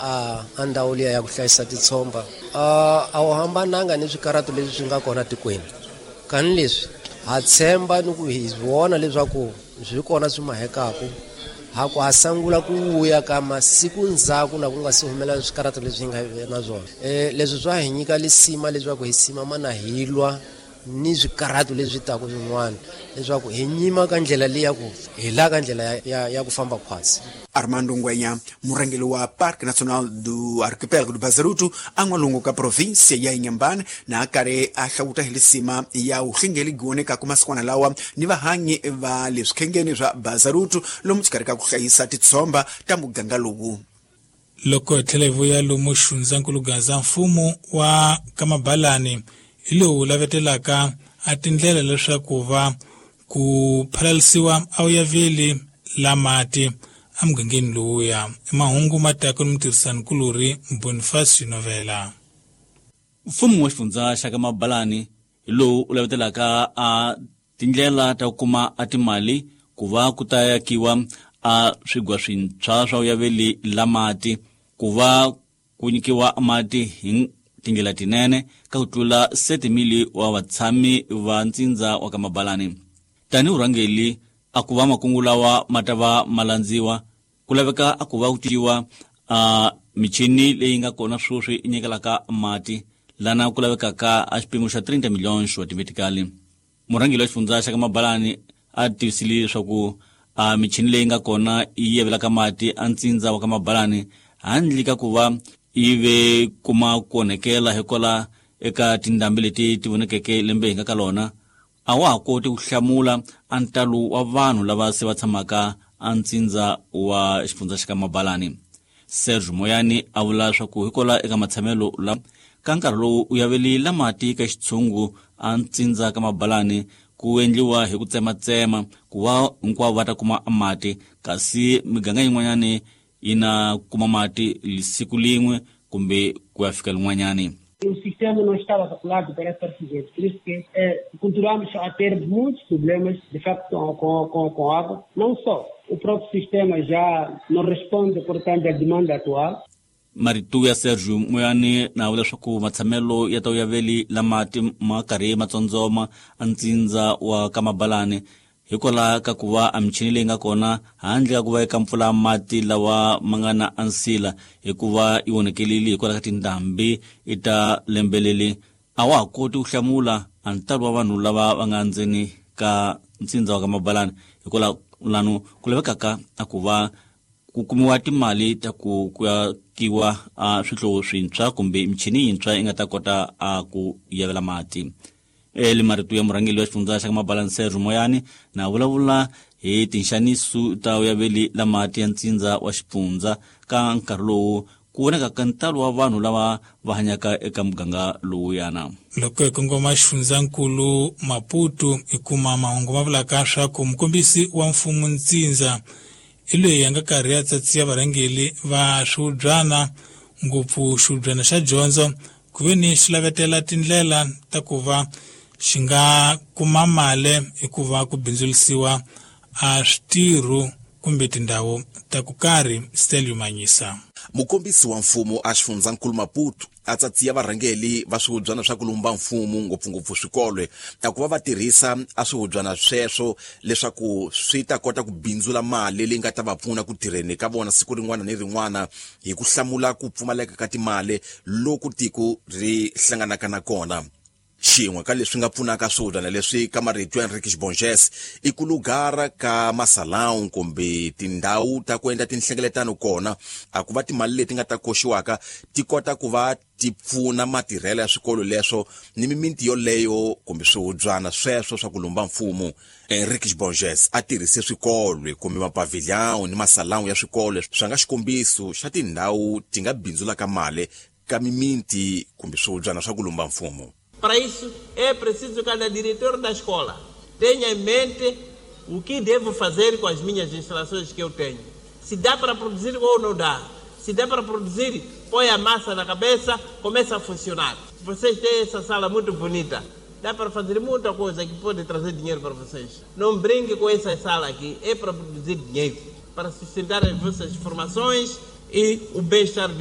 A ndhawu liya ya ku hlayisa titshomba a wu hambananga ni swikaratu leswi swi nga kona tikweni. Kani leswi ha tshemba ni ku hi vona leswaku swi kona swi mahekaku, ha ku ha sangula ku vuya ka masiku ndzhaku na ku nga si humelela swikaratu leswi hi nga na swona. Leswi swa hi nyika lisima leswaku hi simama na hi lwa ni swikaratu leswi taka swin'wana leswaku hi nyima ka ndlela leyi ya ku hi la ka ndlela ya ku famba khwatsi. Armando Ngwenya, murhangeri wa Parque Nacional do Arquipélago do Bazaruto, a n'walungu ka província ya Inhambane, na a karhi a hlawuta hi lisima ya vuhlengeli gionekaku masikwana lawa ni vahanyi va le swikhengeni swa Bazaruto lomu xikarhi ka ku hlayisa titshomba ta muganga lowu. Loko hi tlhela hi vuya lomu xifundzankulu Gaza, mfumo wa Kamabalani hi lowu lavetelaka a tindlela leswaku va ku phalalisiwa a wu yaveli la mati emugangeni lowuya. Mahungu ma taka ni mutirhisani-kulorhi Bonifacio Novela. Mfumo wa xifundza xa Kamabalani hi lowu u lavetelaka a tindlela ta ku kuma a timali ku va ku ta yakiwa a swigwa swintshwa swa vuyaveli la mati, ku va ku nyikiwa mati hi tindlela tinene ka ku tlula 7,000 wa vatshami va ntsindza wa Kamabalani. Tanihi vurhangeri a ku va makungu lawa ma ta va ma landziwa, ku laveka a ku va ku cinciwa a michini leyi nga kona sweswi yi nyikelaka mati, lana ku lavekaka a xipimo xa 30 milhões wa timetikali. Murhangeri wa xifundza xa Kamabalani a tivisile leswaku a michini leyi nga kona yi yevelaka mati a ntsindza wa Kamabalani handle ka ku va yi ve kuma ku onhekela hikwalaho eka tindhambi leti ti vonekeke lembe hi nga ka lona, a wa ha koti ku hlamula a ntalo wa vanhu lava se va tshamaka a ntsindza wa xifundza xa Kamabalani. Sergio Moyani a vula leswaku hikwalaho eka matshamelo la ka nkarhi lowu u yavelile mati ka xitshungu a ntsindza ka Mabalani ku endliwa hi ku tsematsema ku va hinkwavo va ta kuma mati, kasi miganga yin'wanyani yi na kuma mati siku lin'we kumbe ku ya fika lin'wanyani. O sistema não estava calculado para essa presidente, por isso que continuamos a ter muitos problemas, de facto, com água. Não só, o próprio sistema já não responde, portanto, à demanda atual. Marito ya Sergio Moyani na vula leswaku matshamelo ya ta vuyaveli la mati ma karhi ma tsondzoma a ntsindza wa Kamabalani hikwalaho ka ku va a michini leyi nga kona handle ka ku va eka mpfula mati lawa ma nga na ansila hikuva yi onhekelile hikwalaho ka tindhambi i ta lembeleli, a wa ha koti ku hlamula a ntalo wa vanhu lava va nga ndzeni ka ntsindza wa Kamabalani hikwalaho lano ku lavekaka a ku va ku kumiwa timali ta ku ku akiwa a swihlovo swintshwa kumbe michini yintshwa yi nga ta kota a ku yavela mati. Eli marito ya murhangeri wa xifundza xa Kamabalani Sergio Moyani na vulavula hi tinxaniso ta vuyaveli la mati ya ntsindza wa xifundza ka nkarhi lowu ku voneka ka ntalo wa vanhu lava va hanyaka eka muganga lowuyana. Loko hi kongoma xifundzankulu Maputo hi kuma mahungu ma vulaka swa ku mukombisi wa mfumo ntsindza i loyi a nga karhi a tsatsiya varhangeri va swihubyana, ngopfu xihubyana xa dyondzo, ku ve ni xi lavetela tindlela ta ku va xi nga kuma mali hikuva ku bindzurisiwa a switirho kumbe tindhawu ta ku karhi. Stelio Manyisa. Mukombisi wa mfumo a xifundzankulu Maputo a tsatsiya varhangeri va swihubyana swa ku lumba mfumo ngopfungopfu swikolo a ku va va tirhisa a swihubyana sweswo leswaku swi ta kota ku bindzula mali leyi nga ta va pfuna ku tirheni ka vona siku rin'wana ni rin'wana hi ku hlamula ku pfumaleka ka timali loku tiko ri hlanganaka na kona. Xin'we ka leswi nga pfunaka swihubyana leswi ka marito ya Enrique Borges i ku lugara ka masalão kumbe tindhawu ta ku endla tinhlengeletano kona, a ku va timali leti nga ta koxiwaka ti kota ku va ti pfuna matirhelo ya swikolo leswo ni mimiti yoleyo kumbe swihubyana sweswo swa ku lumba mfumo. Enrique Borges a tirhise swikolo kumbe mapavilhão ni masalão ya swikolo swa nga xikombiso xa tindhawu ti nga bindzulaka mali ka mimiti kumbe swihubyana swa ku lumba mfumo. Para isso é preciso que cada diretor da escola tenha em mente o que devo fazer com as minhas instalações que eu tenho. Se dá para produzir ou não dá. Se dá para produzir, põe a massa na cabeça, começa a funcionar. Vocês têm essa sala muito bonita. Dá para fazer muita coisa que pode trazer dinheiro para vocês. Não brinque com essa sala aqui, é para produzir dinheiro, para sustentar as vossas formações e o bem-estar de